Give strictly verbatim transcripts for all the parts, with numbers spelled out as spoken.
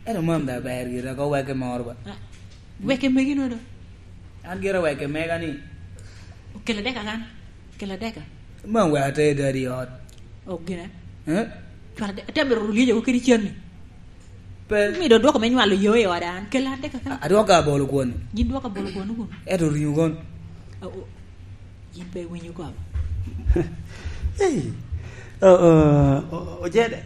Ento mam da ber gire, ko weke moro ba. Ah, weke megi no do? An gira weke mega ni. Okelo deka kan? Okelo deka? Mam wek ater dadi i ot. O, gine? Eh? Cwal de-, ate mito rulyejo kede cen ni. Pe. Mi do dwoko me nywalo yo i oda an. Kel an deka kan? A-, adwoko abolo kwon. Yin dwoko abolo kwon kun? Eto ringo kon. A, o, yin pe iwinyo kop. Ei. O, o, o, ojede.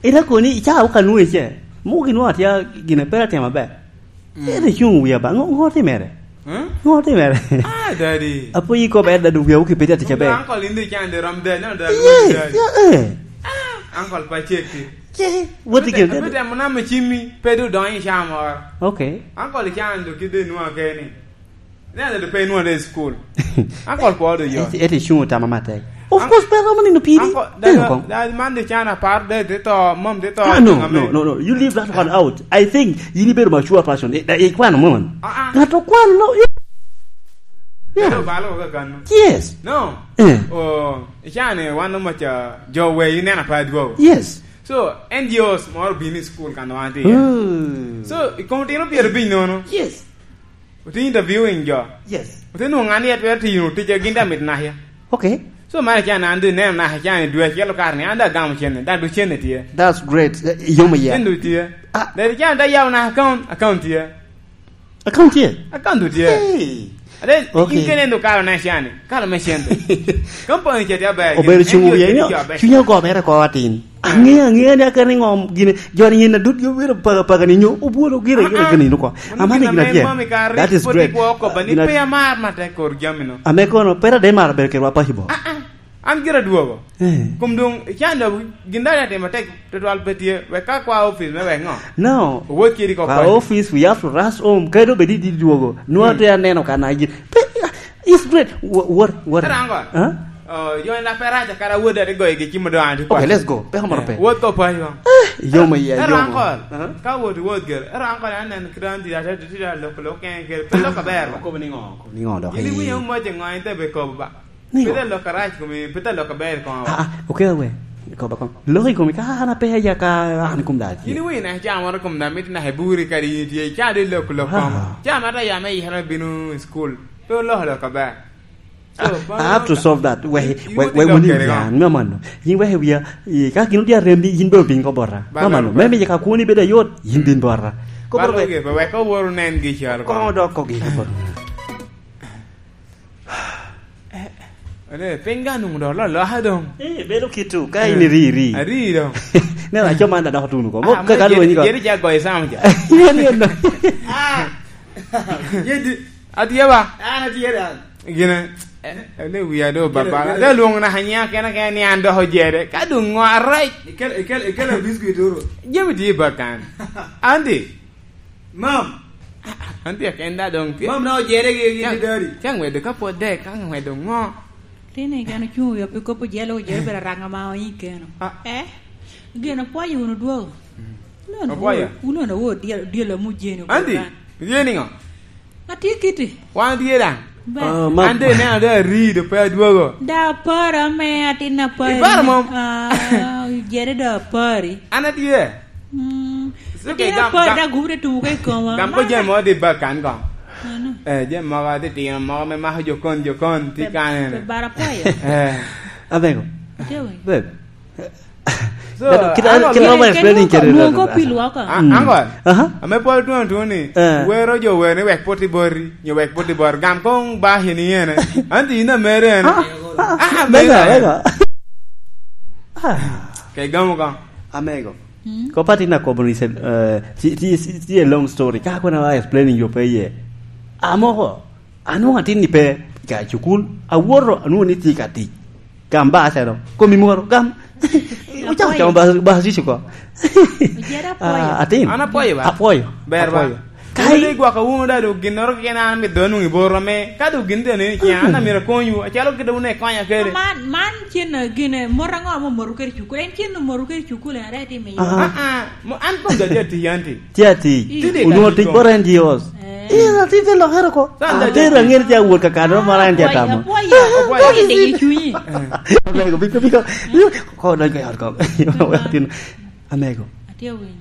Ira koni, ica oka nwoŋo ice. Mugi nwoŋo atya gine pera timo aber. Mm. Ere cuŋ wia ba, ŋo, ŋo timere? Hmm? Ŋo timere? Ah, daddy. Apo yiko ber, daddy, wia wuki pedi atic aber. Uncle, in do can de rom dad, no, dad, yes, daddy. Yeah, eh. Ah, uncle, pa check it. Che, what again? Abite mo na me chimmi, pe do donyo i caa moro. Okay. Uncle, can do kide nwa keni. Ne, do pe nwa de school. Uncle, po do yo. Ete, ete cuŋ tama matek. Of course, pe romo nino piri. Uncle, da, da, man de can apar de, de to, mom de to. Ah, no, no, no, no. You leave that one out. I think you need to be a mature person. Eh, eh, kwano mon. Ah, ah. Ŋato kwano, no. Yeah. Ero balo ka kano. Yes. No. Eh. Oh, ichane wan no macha jo we inena pa dwo. Yes. So, N G Os moro bini school kan wan ti. Mm. So, i kom tino pyero biny nono. Yes. Ote interviewing jo. Yes. Ote nwoŋo ŋan yet wer tiyo tic a gin da mit nahya. Okay. So, mara can an dwe neno nahya can i dwe acel okar ni an da gamo cene, da du cene tye. That's great. Eh, yomo ya. Cene du tye. Ah. Da can da yawo na account, account tye. Account tye? Account du tye. Hey. Ade, okay. In kene ndo kalo na can, kalo me cente. Company ce tye aber. Obedo cuŋ wiye, cunya ogo mere ko atin. Aŋeyo, aŋeyo ni akene ŋo gine, jo ni yen adut yo wiro paga, paga ni nyo, obwolo gire, gire, ah, ah, gire nino ko. Amani gina tye. That is great. Gina pe amar matek kor jami no. Ame kono, pera de mara ber kerwa paci bo. Ah, ah. An gira dwogo. Eh. Kum dong, ican da gin da atimo tek, tutwal pe tye, wek ka kwa office me wek ŋo? No. Owot kiri ko kwa kwan. Office, we have to rush home. Kado bedi di dwogo. Nwa te aneno ka na gin. Pe, It's great. Wha-, what, what? Era ango? Huh? Oh, yo en laperaja kara wode ate goyo gi cimo do an ti. Okay, let's go. Peko moro pe. Wod ko pa yo. Eh, yomo iya, yomo. Era ango? Huh? Ka wod wod ger. Era ango na nen kran di ate di da lok lok en ger. Pe lok aber ba. Ko ni ngo? Ko ni ngo do? Ini wi yo mo je ngo en te be ko ba. Ni ngo? Pita lok arac kumi, pita lok aber ko. Ah, ah, okay, we. Ko ba ko. Lok i kumi ka ana pe ya ka an kum da. Ini wi na cha moro kum da mit na heburi kari ye cha de lok lok ko. Ah. Cha mata ya me ihana binu school. Pe oloko lok aber. So, I have to solve that. We, we, we wuni yan, me mano. Yin we wiya, i, ka gin odia rem ni, yin be obin ko bora. Me mano, me mi ka kuni beda yot, yin bin bora. Ko bora we. Wek owor nen gi chal ko. Ko dok ko gi ko. Eh, eh. Ane, piny ga nung do lo, lo ha dong. Eh, bedo kitu, ka in iri, iri. Ari dong. Ne, la choma na dok tunu ko. Mo, ah, ka mo, ka lo ni ko. Jeri ja goy sam ja. Yen, yen, no. Ah. Yedi. Atye ba? An atye dan. Gine, eh, ne wiya do baba. Gine, gine. Ade lwongo na hanya kena kena ni an doko jere. Ka dong ngo arac. Ikel, ikel, ikel a biscuit oro. Jami tye ba kan. Andi. Mam. Andi akenda dong tye. Mam na ojere gi, gi dari. Ka ngwedo ka pwod de, ka ngwedo ngo. Tini keno cuŋ wi opi kopo jelo, ojere bera ranga ma onyi keno. Ah. Eh? Gino pwoyo wunu dwogo. Mm. Wun onwoŋo, wun onwoŋo dyel, dyel amu jeni. Andi, obedo kan. Jeni ngo? Atye kiti. Wan tye daŋ. Ba. Ah, ma- An de neno da arido pe adwogo. Da aparo me atin apari. Iparo mom? Ah, jere da apari. An atye. Mm. It's okay, atye gam, apari gam. Da gubu de tumo ka i koma. Gam ko jemo di ba kan ko. Ano? Eh, jemo moko di tino moko me mako jokon, jokon, ti pe, kane. Pe bara pwoyo. Eh. Abego. Atye wi. Babe. So, kit, kit ma explaining kede nwoŋo ko pilwa ka. Ah, mm. Uncle. Aha. Ame pol tuno tuno ni, eh, wero jo wer ni wek poti boti, nyo wek poti boti. Gam kong ba hini yene. Anti in amere en. Ah, ah, ah, amere en. Mega, mega. Ah. Ke gamo ka. Amego. Mm. Ko pati na kobo ni se, eh, ti, ti, ti, ti a long story. Ka kona wa explaining yo pe ye. Amoko. Anwoŋo atin ni pe ka cukul, awoto anwoŋo ni tye ka tic. Gam ba acalo, komi moro, gam. Ocako camo ba, ba tic oko. Ojeda apwoyo. Ah, atin. An apwoyo ba. Apwoyo. Ber ba. Apwoyo. Ka in igwoko wunu da dok ginnoro keken an amito dong anwoŋ i bor ame, ka dok gin tye ni, an amito akonywu, acalo kite wun ikonya kede. Man, man cen gine, mot aŋo ame omoto kede cukul? En cen omoto kede cukul, en aye tye miyo. Ah, ah, mo-, an kong aja tic, an tic. Tye atic. Tye onwoŋo tic bot N G Os. Eh. In atic te lokere oko. Atero aŋer tye awot ka kano, mara en tye atamo. Apwoyo, apwoyo, apwoyo, apwoyo, apwoyo, apwoyo, apwoyo, apwoyo. Amego, biko, biko. Ko dony ko yot ko. Amego. Atye awinyo.